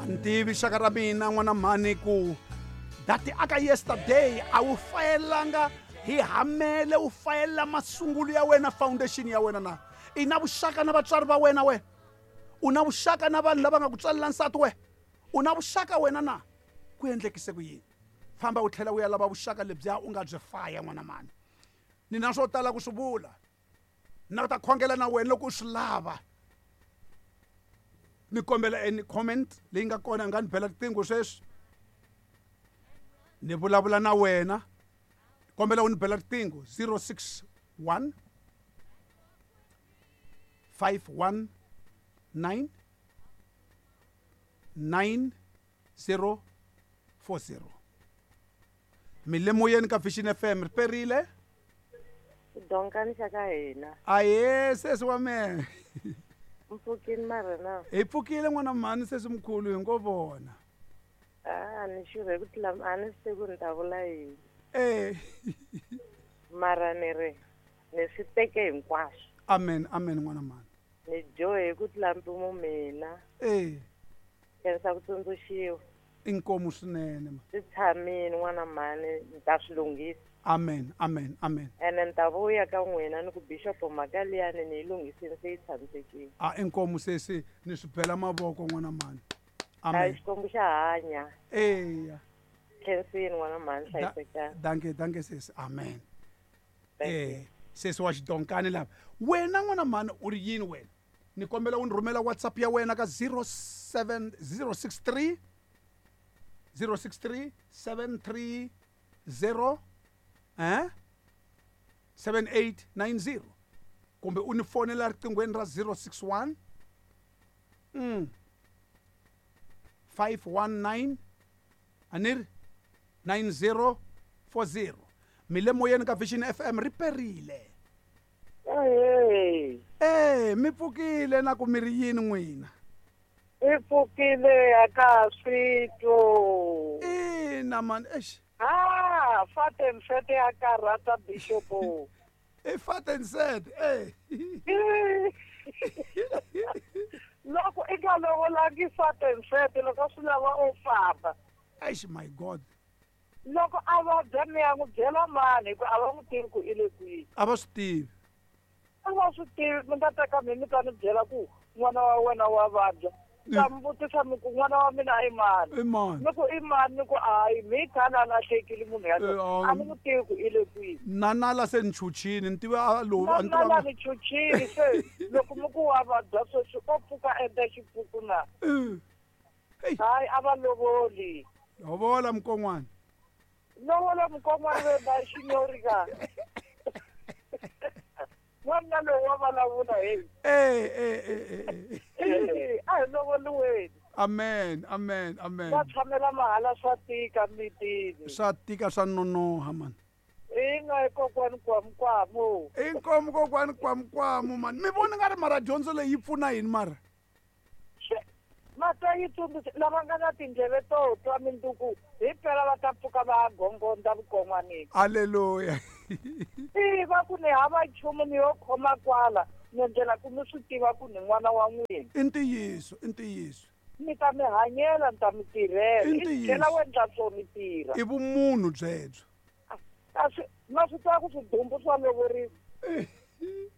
Ni tivi xaka ra mina n'wana mhani ku dati aka yesterday a wu fayelanga hi hamele u fayela masungulo ya wena foundation ya wena na i na vuxaka na vatswari va wena wena u na vuxaka na vanhu lava nga ku tswalela nsati wena u na vuxaka wena na ku endlekise ku yini famba u tlhela u ya lava vuxaka lebyiya u nga byi faya n'wana mani ni na swo tala ku swi vula na ta khongela na wena loko u swi lava ni kombela any comment leyi nga kona u nga ni bela riqingho sweswi ni vulavula na wena kombela u ni bela riqingho 061 519 9040 mi le moyeni ka Vision FM ri perile Donkani xa ka hina. Aye sesi wa mehe. Mpfukini mara na. Hi pfukile n'wana mhani sesi mkhulu hi ngo vona. Ah, ni xurhe ku tlula a ni swi tivi ku ni ta vula yini. Eh. Mara ni ri ni swi teke hinkwaswo. Amen, amen n'wana mhani. Ni dyohe ku tlula mpimo mina. Eh. Khensa ku tsundzuxiwa. Inkomu swinene ma. Swi tshamini n'wana mhani ni ta swi lunghisa. Amen, amen, amen. Ene ni ta vuya ka n'wina ni ku bishop mhaka liyani ni yi lunghisini se yi tshamisekile. A inkomu sesi ni swi bela mavoko n'wana mhani. Amen. Hayi Xikwembu xa hanya. Eya. Khensini n'wana mhani hlayisekani. Danke, danke sesi. Amen. Eh, sesi wa xidonkani lava. Wena n'wana mhani u ri yini wena? Ni kombela u ni rhumela WhatsApp ya wena ka 07 063 063 730 eh 7890 kumbe u ni fonela riqinghweni ra 061 519 a ni ri 9040 mi le moyeni ka Vision FM ri perile. Ahee. Eh, mi pfukile na ku mi ri yini n'wina? I pfukile a ka ha swi twi. Ina mani, eish. Ha, fat and fat ya karhata Bishop. I fat and sad, eh. Loko i nga lovolangi fat and fat loko swi lava u famba. Eish my God. Loko a vabya mi ya n'wi byela mani hi ku a va n'wi tivi ku i le kwihi. A va swi tivi. A va swi tivi mi nga teka mi mi ta ni byela ku n'wana wa wena wa vabya. Ni ta mi vutisa mi ku n'wana wa mina i mani. I mani? Ni ku i mani ni ku hayi mi khale a lahlekile munhu yaloye. A ni n'wi tivi ku i le kwihi. Na nala se ni chuchini ni tiva a lowu a ni Na nala ni chuchini se loko mi ku wa vabya sweswi o pfuka a endla xipuku na. Hayi a va lovoli. Lovola mukon'wana. Lovola mukon'wana ve ba xinyori ka. N'wanuna loyi wa vulavula hey. Eh eh eh eh. A hi lovoliweni. Amen, amen, amen. Va tshamela mahala swa tika mitini. Swa tika swa nonoha man. Ina i kokwani kwamukwamu. Inkomu kokwani kwamukwamu man. Mi vona nga ri mara dyondzo leyi yi pfuna yini mara? Ma twa yi tsundzuxa lava nga na tindleve to twa minduku hi mpela va ta pfuka va ya gongondza vukon'wanini. Aleluya. I va ku ni hava nchumu ni yo khoma kwala ni endlela ku mi swi tiva ku ni n'wana wa n'wina. I ntiyiso, i ntiyiso. Ni ta mi hanyela ni ta mi tirhela. I ntiyiso. I tlhela u endla swo mi tirha. I vumunhu byebyo. A swi ma swi tiva ku swidumbu swa lovoriwa.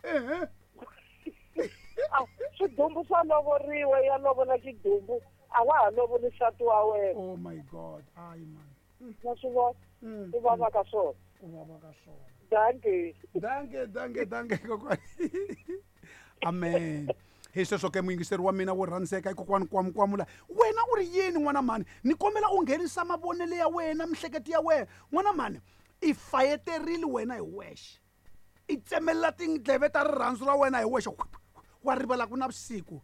Ehe. A swidumbu swa lovoriwa ya lovola xidumbu a wa ha lovoli nsati wa wena. Oh my God. Hayi man. Ma swi vona? Ku vava ka swona. Ku vava ka swona. Dankie. Dankie, dankie, dankie kokwani. Amen. Hi sweswo ke muyingiseri wa mina wo rhandzeka i kokwani kwamkwamula wena u ri yini n'wana mhani ni kombela u nghenisa mavonelo ya wena mihleketo ya wena n'wana mhani i fayeterile wena hi wexe i tsemelela tindleve ta rirhandzu ra wena hi wexe wa rivala ku na vusiku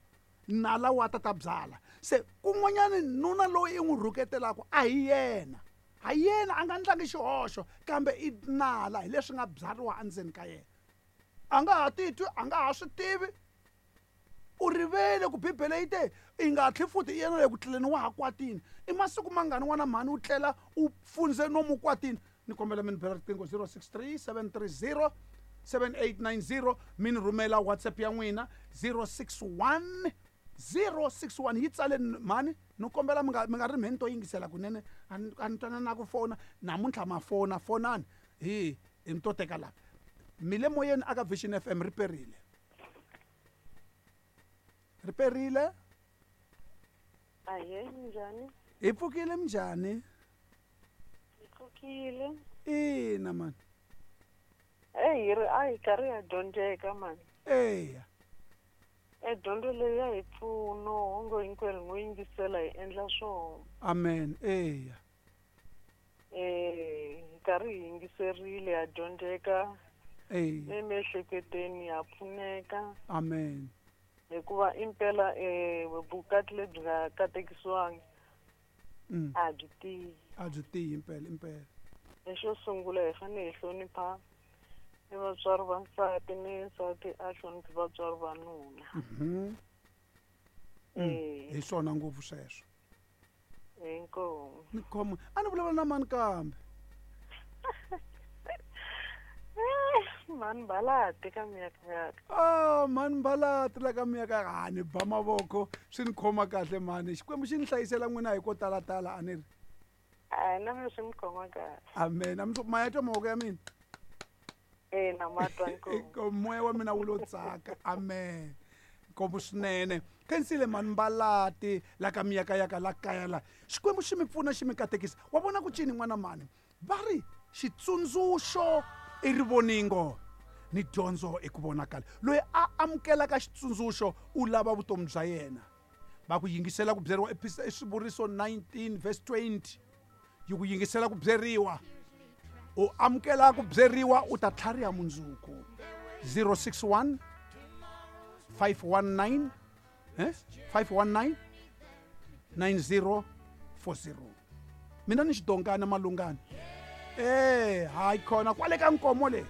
nala wa ta ta byala se kun'wanyani nuna loyi i n'wi rhuketelaka a hi yena ha yena a nga ndlangi xihoxo kambe i nala hi leswi nga byariwa endzeni ka yena a nga ha titwi a nga ha swi tivi u rivele ku bibele yi te i nga tlhi futhi i yena le ku tleleni wa ha kwatini i masiku mangani n'wana mhani u tlela u fundze nomu kwatini ni kombela mi ni bela riqingho 063 730 7890 mi ni rhumela whatsapp ya n'wina 061. 061 yi tsale mhani ni kombela mi nga mi nga ri mheni to yingisela kunene a ni a ni twana na ku fona namuntlha ma fona fonani hi hi mi to teka lava mi le moyeni aka Vision FM ri perile ri perile. Ahee, minjhani? Hi pfukile minjhani? Hi pfukile. Ina mani. Eyi hi ri a hi karhi ha dyondzeka mani. Eya. E dyondzo leyi ya hi pfuno onge hinkwerhu hi ngo yingisela hi endla swona. Amen eya. Hi karhi hi yingiserile ha dyondzeka. Eya. Emiehleketweni ha pfuneka. Amen. Hikuva impela vukati lebyi nga katekisiwangi a byi tiyi. A byi tiyi impela impela. Lexo sungula hi fanele hi hlonipha ni vatswari va nsati ni nsati a hloniphi vatswari va nuna. Hi swona ngopfu sweswo. Inkomu. Ni khoma a ni vulavula na mani kambe. Mani Mbalati ka miyakayaka. Ah, mani Mbalati la ka miyakayaka. Ah, ni ba mavoko swi ni khoma kahle mani. Xikwembu xi ni hlayisela n'wina hi ko talatala a ni ri. A na mina swi ni khoma kahle. Amen. A mi ma ya twa mavoko ya mina? Ina ma twa inkomu. Moya wa mina wu lo tsaka. Amen. Nkomu swinene. Khensile mani Mbalati la ka miyakayaka la kaya la. Xikwembu xi mi pfuna xi mi katekisa. Wa vona ku cini n'wana mani? Va ri xitsundzuxo i rivoningo ni dyondzo i ku vonakala. Loyi a amukelaka xitsundzuxo u lava vutomi bya yena. Va ku yingisela ku byeriwa i Swivuriso 19 verse 20. Yi ku yingisela ku byeriwa. U amukela ku byeriwa u ta tlhariha mundzuku. 061 519 519 9040. Mina ni xidonkana malungana. Eh, hayi khona kwale ka nkomo le.